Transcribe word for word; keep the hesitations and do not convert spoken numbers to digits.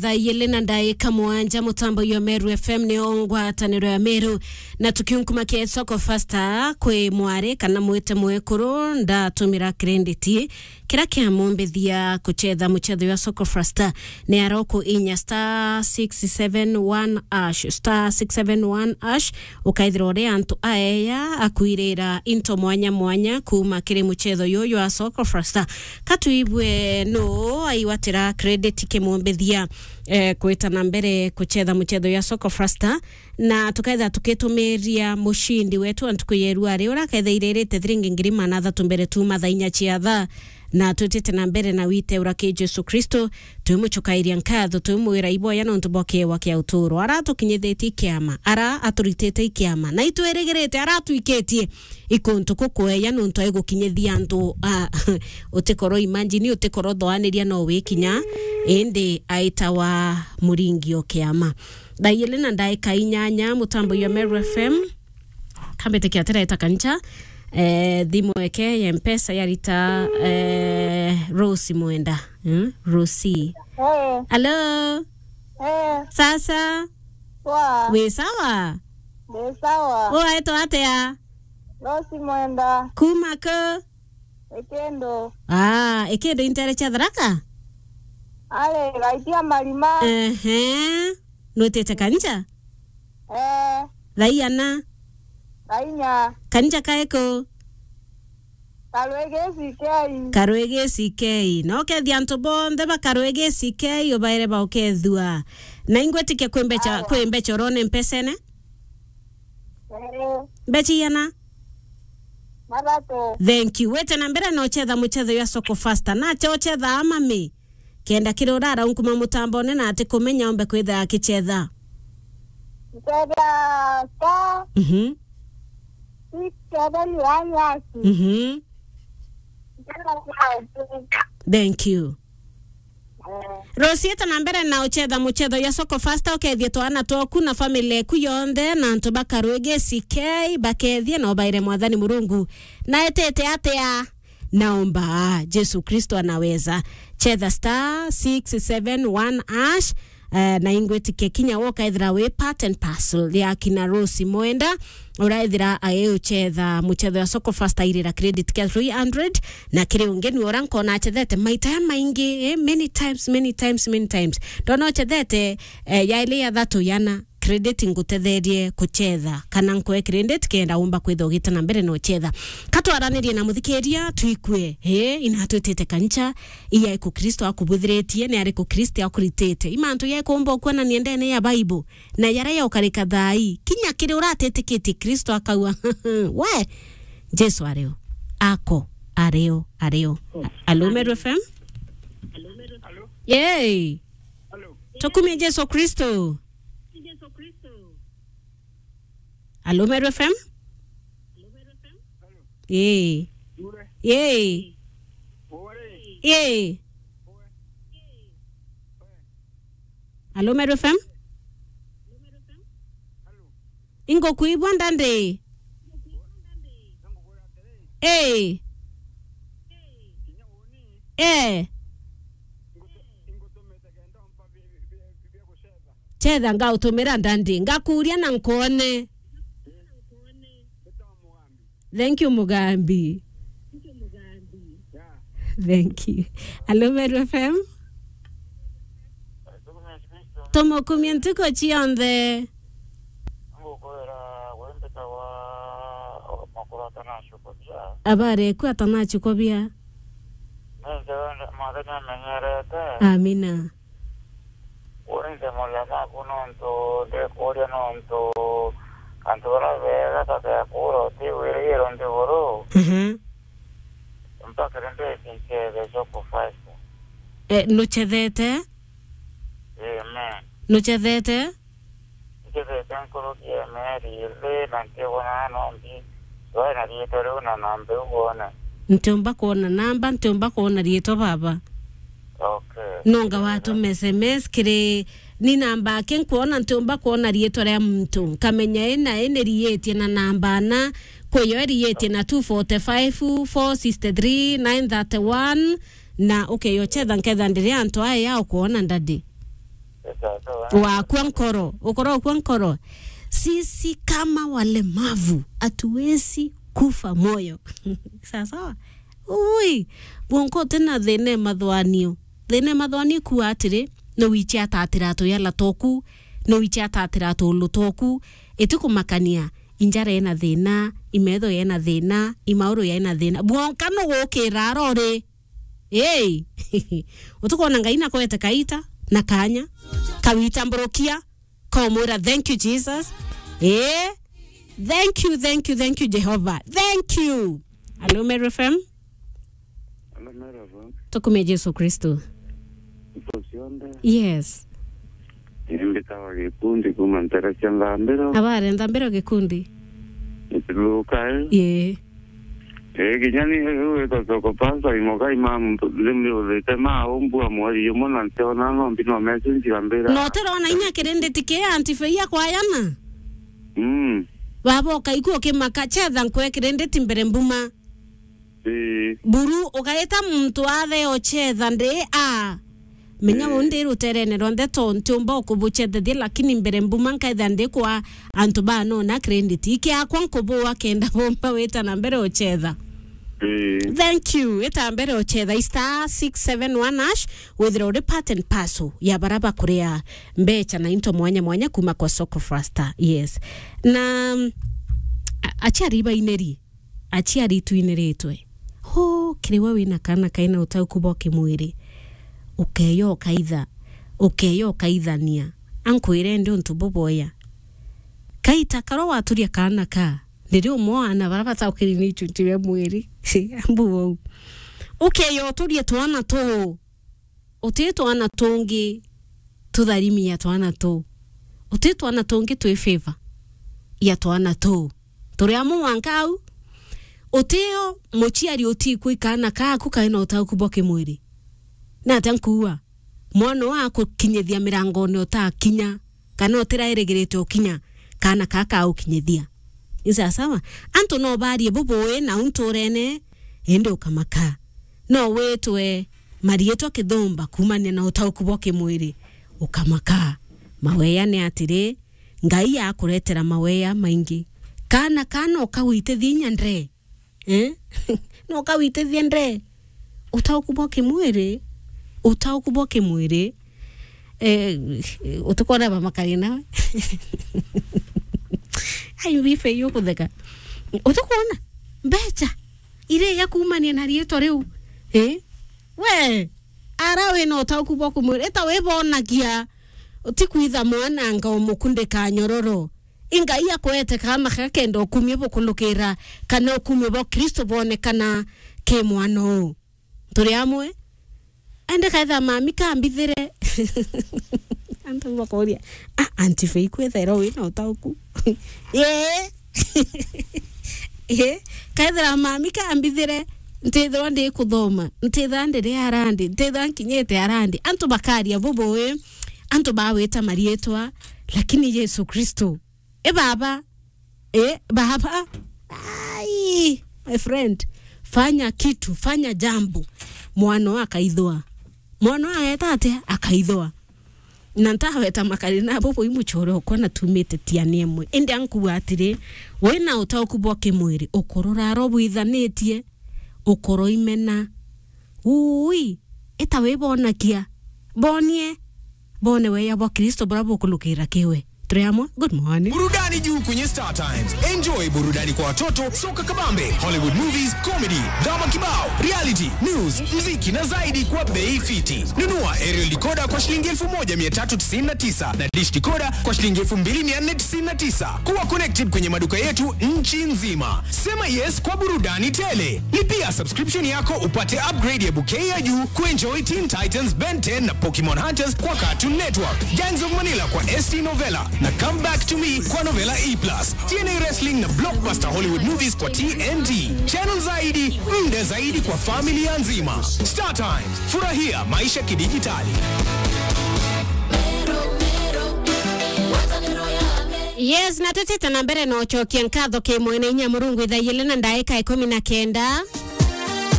Thaa igiri na ndaika mugwanja, mutambo yo Meru F M ni o ngwataniro ya Meru. Na tukiunkumakia Soko Fasta kwi mwari kana mwite mwekuru, ndatumira credit. Kira kiamumbithia kuchetha muchetho jwa Soko Fasta ni aroko inya star six seven one hash, star six seven one hash, ukaithira uri antu aeya akwirira into mwanya mwanya kuuma kiri muchetho juju jwa Soko Fasta. Ka tuibue nuu aiwatira credit kimumbithia, eh, kwita na mbere kuchetha muchetho jwa Soko Fasta, na tukaitha tukitumiria mucindi wetu wa ntuku ya irua ri uria akethairite thiringi ngiri magana athatu mbere tuuma thaa inya cia thaa, na twitite na mbere na wite ura ki Jesu Kristo, twimucukairia nkatho, twimwira iboya nontu bwa kiewa kia uturo. Ara atukinyithitie ikiama, ara aturitite ikiama, na itwirigirite ara atwikitie ikuntu kukweya nontu aigukinyithia antu, a, utikoro imagine, utikoro thoaniria no wikinya, indi aitawa muringi o kiama. Thaa igiri na ndaika inyanya, mutambo ya Meru F M. Kambite kia tireta kancha, eh, thimu eke ya Mpesa yarita, eh, Rose Mwenda. Hmm? Rose. Eh. Hello? Eh. Sasa? Wa. Wi sawa? Ndi sawa. Waitwa atia? Rose Mwenda. Kuma ku? Ikindu. Ah, Ikindu intere cia Tharaka? Ari, gaitia marima. Ehe. Nwitite kancha? Eh. Thaa iana? Thaa inya. Kancha kae ku? Karwigi C K. Karwigi C K. No kethia antu bonthe ba Karwigi C K ubaire baukethua. Na ingwitikia kwi mbecha, Awa. Kwi mbecha urone mpesene? Eh. Mbecha iana? Mathatu. Thank you. Wite na mbere na uchetha muchetho ya Soko Fasta. Na cha uchetha amami. Kenda kiri urara unkuma mutambone na ati kumenya ombe kwitha akichetha. Nchetha star Mhm. six seven one hash. Mhm. Nchetha star six. Thank you. Eh. Rose, ita na mbere na uchetha muchetho ya Soko Fasta, ukethie twana twaku na family eku yonthe na antu ba Karwigi C K bakethie na ubaire Mwathani Murungu. Na etete atia? Naomba, Jesu Kristo anaweza. Chetha star six seven one hash, eh, na ingwitikia kinya woka ethira wi part and parcel ya kina Rose Mwenda, uraethira aeuchetha muchetho ya Soko Fasta irira credit kia three hundred, na kiri ungi ni ura nkona achethete maita ya maingi, eh, many times, many times, many times. Ndona uchethete, eh, yaili ya thatu yana. Credit ngutetherie kuchetha, kana nkwe credit kenda umba kwitha ugita na mbere na uchetha. Katwaranirie na muthikiria, twikue, eh, inatwitite kancha, iya iku Kristo akubuthiritie, ni ari ku Kristo akuritite. Imantu ya ikumba ukuonania ndene ya Bible, na yara ya ukarika thai, kinya kiri uratitikitie Kristo akaua. We, Jesu ario, ako, ario, ario. Alo, Meru F M? Yay! Tukumie Jesu Kristo. Alo, Meru F M? Yee. Yee. Yee. Alo, Meru F M? Ingo kuibwa ndandi. Ee. Ee. Chetha ngautumira ndandi. Ngakuria na nkwone. Thank you, Mugambi. Thank you. Hello, Meru F M. Tumukumie ntuku cionthe. Ngukwira, we mbitawa Makuru atanacukubia. Abari eku atanacukubia. Ninthe wende Mwathani amenyerete. Amina. Winthe muria maku nontu ndikuria nontu antu baria bega ta bekura utigwirigirwa nthiguru. Mhm. Mpaka ri mbeti nchethe Soko Fasta. Eh, nuchethete? Amen. Nuchethete? Ncethete nkuruki ya mieri iri na ntikwona nombi. Wai na riitwa riu na namba iu wone. Ntiumba kwona namba, ntiumba kwona riitwa baba. Okay. Nonga watuma S M S kiri ni namba aki nkwona, ntiumba kwona riitwa ria muntu. Nkamenya ina ina riitie na namba ana, kwiyo iriitie na two forty-five, four sixty-three, nine thirty-one, na ukeyo chetha nketha ndiri antu aya ya ukwona ndadi. Wakua nkoro, ukorokua nkoro. Sisi kama walemavu, hatuwezi kufa moyo. Sawa sawa? Ui, wonka uti na thina e mathwanio. Thina e mathwanio ikua atiri, no wiche atatira tuyala toku, no wiche atatira tulu toku, iti kumakania, injara ina thina, imetho yena thina, imauru yena thina. Bwonka no gukira arori. Hey! Utukwona Ngai nakwete kaita na kanya, kawita mburukia, komwira, "Thank you, Jesus." Eh? Thank you, thank you, thank you, Jehovah. Thank you. Hello, Meru F M. Hello, Meru F M. Tukume Jesu Kristo. Indo cionthe. Yes. Ni mbitawa Gikundi kuma ntere cia Nthambiro. Abare Nthambiro Gikundi. Nitiluka, eh? Ii. Eh, kinya ni riu witwa Soko Pastor, imoka imam-, ndimiuthite ma umbua mweri umwe na ntiona nombi no message ambira. No tirona inya kirinditi ki anti Fei akwayana? Mm. Baba ukaigua ukimaka, chetha nkwe kirinditi mbere mbuma. Ii. Buru, ugaita muntu athe ochetha ndi a. Menya, ii, uu ndi ruterene rwonthe, to ntiumba ukubuchethethia, lakini mbere mbuma nkaitha ndi kwa antu banona credit. Iki akwa nkubua kenda bomba wita na mbere ochetha. Ii. Thank you. Ita mbere ochetha star six seven one hash, withira uri part and parcel ya bara bakuria mbecha na into mwanya mwanya kuma kwa Soko Faster. Yes. Na, mm, a-, aciari baineri. Aciari itwiniritwe. Huu, kiri we wina kaana kaina utauku bwa kimwiri, ukeya ukaitha, ukeya ukaithania. Ankwire ndi untu buboya. Kaita karo waturia kaana ka, ndiri umwe wa ana bara bataukiri ni ichunchi bia mwiri. Ambu wau. Ukeya uturie twana tuu. Uti twana tungi tutharimi ya twana tuu. Uti twana tungi twi favor ya twana tuu. Turi amwe mwanka au. Utio muciari utikwi kaana kaku kaina utauku bwa kimwiri. Na atia nkuua? Mwana wa akukinyithia mirangone utakinya, kana utirairigirite ukinya, kaana kaka ukinyithia. Ni sawa sawa? Antu no barie bubui na unturene, indi ukamaka. No witwe mariitwa kithumba kuumania na utauku bwa kimwiri, ukamaka. Maweya ni atiri, Ngai akuretera maweya maingi. Kaana, kaana ukawitithia inya ndre. Eh? No ukawitithia ndre. Utauku bwa kimwiri, utauku bwa kimwiri, eh, utikwona bamakari nawe. Ai, bife iyo kutheka. Utikwona? Mbecha. Iria ya kuumania na riitwa riu. Eh? We, ara wina utauku bwa kumwira, ita wibonagia, utikwitha mwananga umukundika nyororo. I Ngai akwete kaana gakenda ukumio bukulukira, kana ukumio bwa Kristo bwonekana ki mwana uu. Turi amwe? Ende kaitha mami kambithire. Antu bakoria, "Ah, Auntie Faith, kwethaira wina utauku?" Ee. Ee. Kaithira mami kambithire, ntithirwa ndi kuthoma, ntithirwa ndiri arandi, ntithirwa nkinyite arandi. Antu bakaria bubui, antu bawita mariitwa, lakini Yesu Kristo, e baba, e baba. Ai, my friend, fanya kitu, fanya jambo. Mwana akaithwa. Mwana ageta atia? Akaithwa. Na ntaweta makari nabo bui muchore okwa na tumite tiani emwe. Indi ankuga atiri, wina utauku bwa kimwiri, ukorora aro bwithanitie, ukoro imena. Ui, ita wibonakia. Bonie. Bone weya bwa Kristo bura bukulukira kiwe. Turi amwe. Good morning. Burudani juu kwenye Star Times. Enjoy burudani kwa watoto, soka kabambe, Hollywood movies, comedy, drama kibao, reality, news, mziki na zaidi kwa bei fiti. Nunua aerial decoder kwa shilingi elfu moja mia tatu tisini na tisa na dish decoder kwa shilingi elfu mbili mia nne tisini na tisa. Kuwa connected kwenye maduka yetu nchi nzima. Sema yes kwa burudani tele. Lipia subscription yako upate upgrade ya bouquet ya juu kuenjoy Teen Titans, Ben ten na Pokemon Hunters kwa Cartoon Network, Gangs of Manila kwa S T Novella na Come Back to Me kwa Novella E plus, T N A Wrestling na blockbuster Hollywood movies kwa T N T. Channel zaidi, muda zaidi kwa familia nzima. Star Times, furahia maisha kidijitali. Yes, na tutite na mbere na ucokia nkatho ki mwene inya Murungu ithaa igiri na ndaika ikumi na kenda.